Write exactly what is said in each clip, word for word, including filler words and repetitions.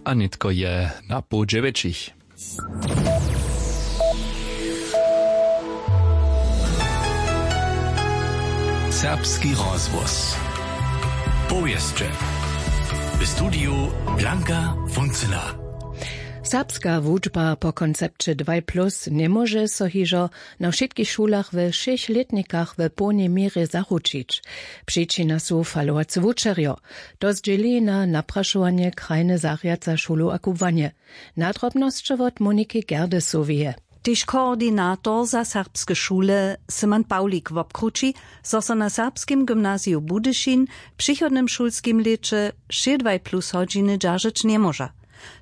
A nětko je na poł dźewjećich. Serbski rozhłos. Powěsće. W studiju Blanka Funcyna. Serbska wučba po koncepće dwaj plus njemóže so hižo na wšitkich šulach we wšěch lětnikach w połnej měrje zaručić. Přičina su falowace wučerjo. To zdźěli na naprašowanje krajny zarjadca šulu a kubłanje. Nadrobnosće wot Moniki Gerdesoweje. Tež koordinator za serbske šule Simon Pawlik wobkrući, zo so na serbskim gymnaziju Budyšin w přichodnym šulskim lěće wšě dwaj plus hodźiny dźeržeć njemóža.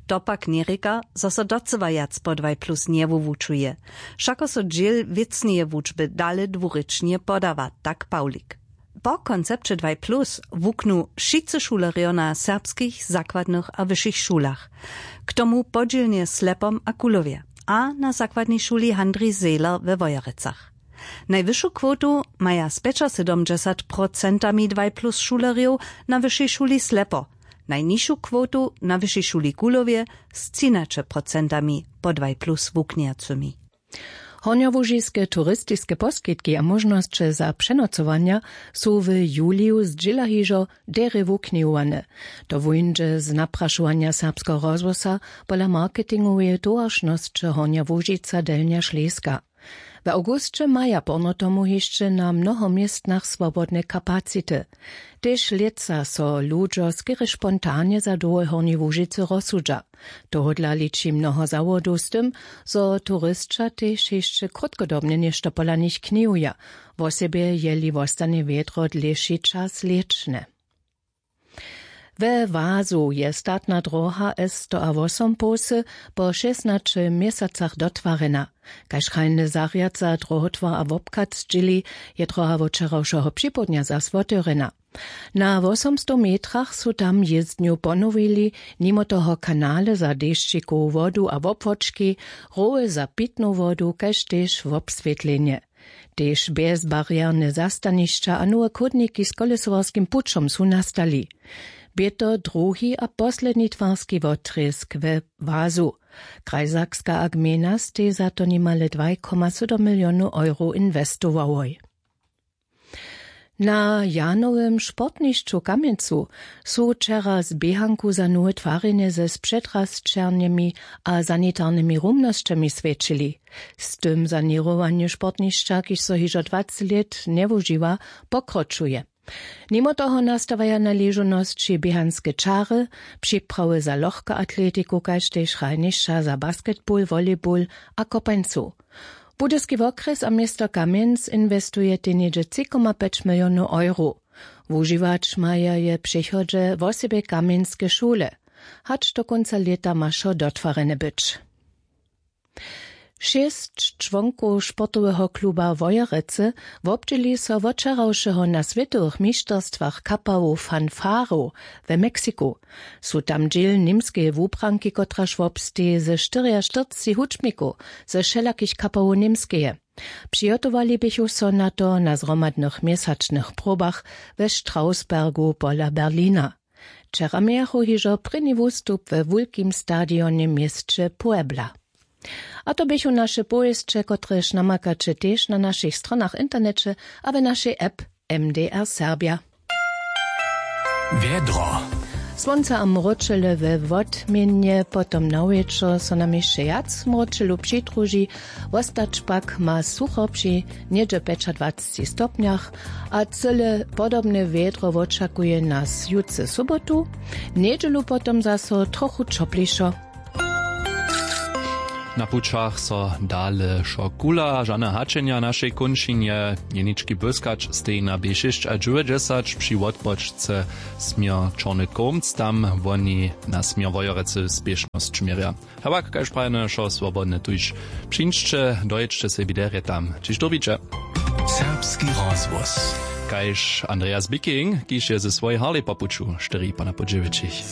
To pak njerěka, zo so docyła wjac po dwaj plus njewuwučuje. Wšako so dźěl wěcneje wučby dale dwurěčnje podawa, tak Pawlik. Po koncepće dwaj plus wuknu wšitcy šulerjo na serbskich zakładnych a wyšich šulach. K tomu podźělnje w Slepom a Kulowje a na zakładnej šuli Handrij Zehler we Wojerecach. Najwyšu kwotu maja z pjećasydomdźesat procentami dwaj plus šulerjow na wyšej šuli Slepo, najnižšu kwotu na wyšej šuli Kulowje z třinaće procentami po dwaj plus wuknjejacymi. Hornjołužiske turistiske poskitki a móžnosće za přenocowanja su w juliju zdźěla hižo derje wuknihowane. To wuńdźe z naprašowanja Serbskeho rozhłosa pola marketingoweje towaršnosće Hornja Łužica Delnja Šleska. W awgusće maja porno tomu hišće na mnoho městnach swobodne kapacity. Tež lětsa so ludźo skerje spontanje za dołhoj Hornjej Łužicy rozsudźa. Tohodla liči mnoho zawodow z tym, zo turisća tež hišće krótkodobnje něšto pola nich knihuja, wosebje jeli wostanje wjedro dlěši čas lěćne. We Wazu je statna droha S sto a wosompołsy po šěsnaće měsacach dotwarjena. Kaž krajny zarjadca drohotwar a wobchad zdźěli, je droha wot wčerawšeho připołdnja zas wotewrjena. Na wosomstow metrach su tam jězdnju ponowili, nimo toho kanale za dešćikowu wodu a wobłóčki, roły za pitnu wodu kaž tež wobswětlenje. Tež bjezbarierne zastanišća a nowe chódniki z kolesowarskim pućom su nastali. Bě to druhi a posledni twarski wotrězk we Wazu. Krajsakska a gmejna stej za to nimale dwaj koma sydom milionow euro inwestowałoj. Na Janowym sportnišću w Kamjencu su wčera z běhanku za nowe twarjenje ze spřetrasćernymi a sanitarnymi rumnosćemi swjećili. Z tym saněrowanje sportnišća, kiž so hižo dwaceći lět njewužiwa, pokročuje. Nimo toho nastawaja na ležownosći běhanske čary, připrawy za lochkoatletiku kaž tež hrajnišća za basketball, volleyball a kopańcu. Budyski wokrjes a město Kamjenc inwestujetej něhdźe tři koma pjeć milionow euro. Wužiwać maja je w přechodźe wosebje kamjenske šule. Hač do kónca lěta ma wšo dotwarjene być. Šěsć čłonkow sportoweho kluba Wojerecy wobdźěli so wot wčerawšeho na swětowych mišterstwach kapałow fanfarow we Meksiku. Su tam dźěl němskeje wubranki, kotraž wobsteji ze štyriaštyrceći hudźbnikow ze wšelakich kapałow Němskeje. Přihotowali běchu so na to na zhromadnych měsačnych probach we Strausbergu pola Berlina. Wčera mějachu hižo prěni wustup we wulkim stadionje w měsće Puebla. A to běchu naše powěsće, kotrež namakaće tež na našich stronach w interneće a we našej app M D R Serbja. Wjedro. Słonce a mróčele we wotměnje, potom na wječor so nam hišće wjac mróčelu přidruži, wostać pak ma sucho při něhdźe pjećadwaceći stopnjach a cyle podobne wjedro wočakuje nas jutře sobotu, njedźelu potom zaso trochu ćoplišo. Na pućach so dale wšo kula, žane hačenja w našej kónčinje. Jenički błyskać steji na B šěsć a dźewjećdźesat při wotpočce směr Čorny Kołmc, tam woni na směr Wojerecy spěšnosć měrja. Hewak, kaž prajene, wšo swobodne tuž přińdźće, dojědźće sebi derje tam, hdźež to widźe. Serbski rozhłos. Kaž Andreas Bicking, kiž je ze swojej Harley po puću štyri po na po dźewjećich.